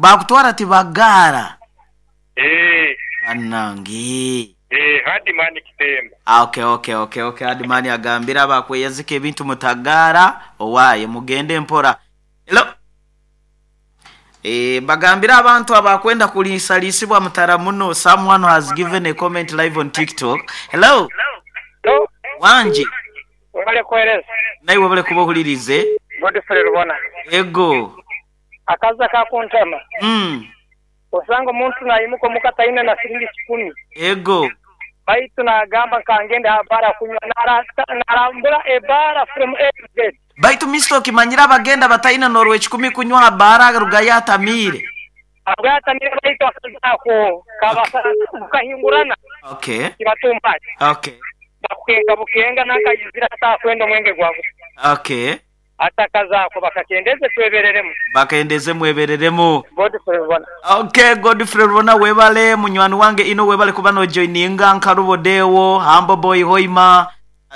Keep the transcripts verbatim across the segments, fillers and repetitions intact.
Bakutwara tibagaara. Eh. Bannange. Eh, Hardman Kitemba. Ah, okay okay okay okay Hardman agambire abakweyazika ebintu mutagaara owaaye mugende mpora. Hello. Eh, bagambire abantu abakwenda kuliisaliisibwa mutara muno. Someone has given a comment live on TikTok. Hello. Hello. Wangi. Webale kuweereza. Naiwe webale kuba ohulirize. Godfrey Rubona. Ego. Akaza kakuntama. Mm. Osanga omuntu nayimuka omuka taine na siringi kikumi. Ego. Baitu nagamba nkangende aha bara kunywa narambura ebara from A to Z. Baitu mister okimanyira abagenda bataine norwe kikumi kunywa aha bara rugayo atamiire. Abwo atamiire baitu akazaako kabasa kukahingurana. Okay. Kibatumba. Okay. Bakukenga bukenga nakayizira atakwenda omwenge gwawe. Okay. Atakazaako bakakendeze twebereremu. Bakendeze mwebereremu. Godfrey Rubona. Okay, Godfrey Rubona webale munywani wange ino webale kuba no joininga nkarubodewo Humble Boy Hoima.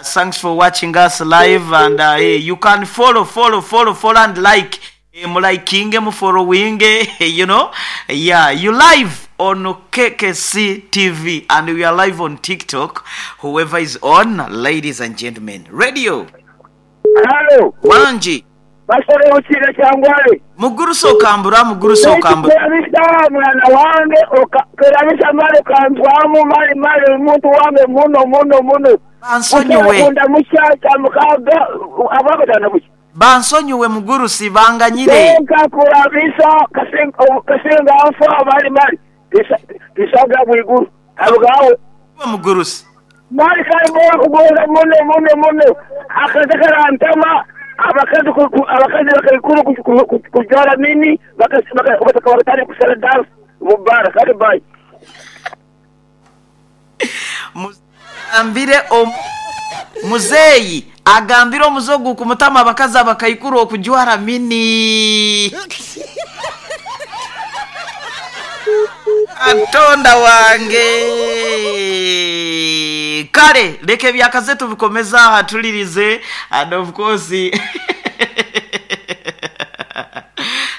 Thanks for watching us live and uh, hey, you can follow follow follow follow and like. Hey, mulikinge mufollowinge, you know. Yeah, you live on K K C T V and we are live on TikTok. Whoever is on, ladies and gentlemen. Radio. Hello. Wanji. Basore uchire changwale. Muguruso kambura, muguruso kambura. Kerabisa mwana wange, kerabisa mali kanzwamu mali mali muntu wange muno muno muno. Bansonyiwe. Kunda mushacha mukaga abakatana buchi. Bansonyiwe mugurusi banganyire. Tenka kurabisa kasenga kasenga afa mali mali. Tisaga bwiguru. Abugawe. Mugurusi. Mali kali muno muno muno muno. Akazakara antama abakazi abakazi bakayikuru kujara nini bakatari kusala dance mubarak kali bye. Muzambire muzeyi agambire omuzogu kumutama abakazi abakayikuru okujwara mini. Atonda wange. Kale leke byakaze tubikomeza hatulirize and of course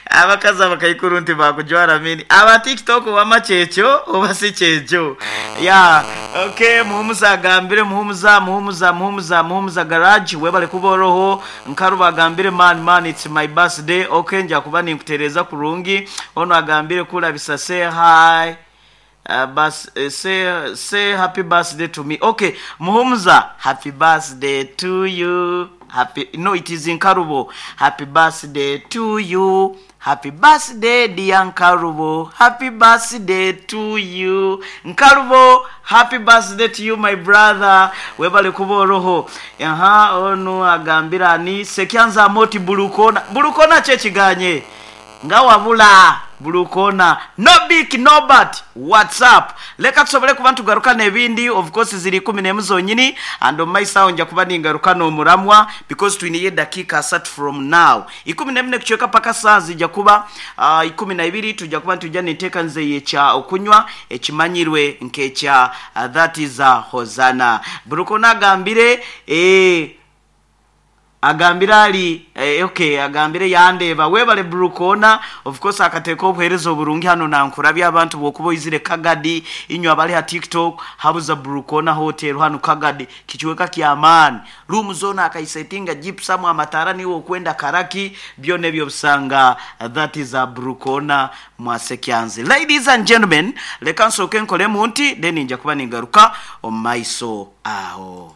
abakazi abakayikuru nti bakujwara mini aba TikTok wama kyekyo oba si kyekyo. Yeah, okay, muhumuza agambire muhumuza muhumuza muhumuza muhumuza garage webale kuboroho nkaruba agambire man man it's my birthday. Okay, nja kuba ninkutereza kurungi ono agambire kulabisa say hi. Uh, bas, uh, say, say happy birthday to me. Okay, Muhumuza, happy birthday to you. Happy, no, it is Nkarubo. Happy birthday to you. Happy birthday, dear Nkarubo. Happy birthday to you. Nkarubo, happy birthday to you, my brother. Webale kuboroho. Aha, onu agambira ni sekyanza moti bulukona. Bulukona chechiganye. Ngawabula bulukona. No big no but WhatsApp. Leka tusobole kuba tugaruka nebindi of course ziri kumi n'emu zonyini and on my sound nja kuba ningaruka no muramwa because twiniye dakika asatu from now. Ikumi n'emu kucheka paka saa zijja kuba uh, ikumi na ibiri tujja kuba tujja niteka nze yecha okunywa ekimanyirwe nkecha uh, that is a Hosanna. Bulukona agambire eh agambira ali eh, okay agambire yandeba webale Brukona of course akateka obuhereza oburungi hano nankurabya abantu bokubo izire Kagadi inywa bali ha TikTok habuza Brukona hotel hano Kagadi kichiweka kya amani room zone akaisetinga gypsum amatara niwo kwenda Karaki byone byo busanga that is a Brukona mwasekyanze. Ladies and gentlemen, leka nsoke nkole munti then nja kuba ningaruka omaiso aho.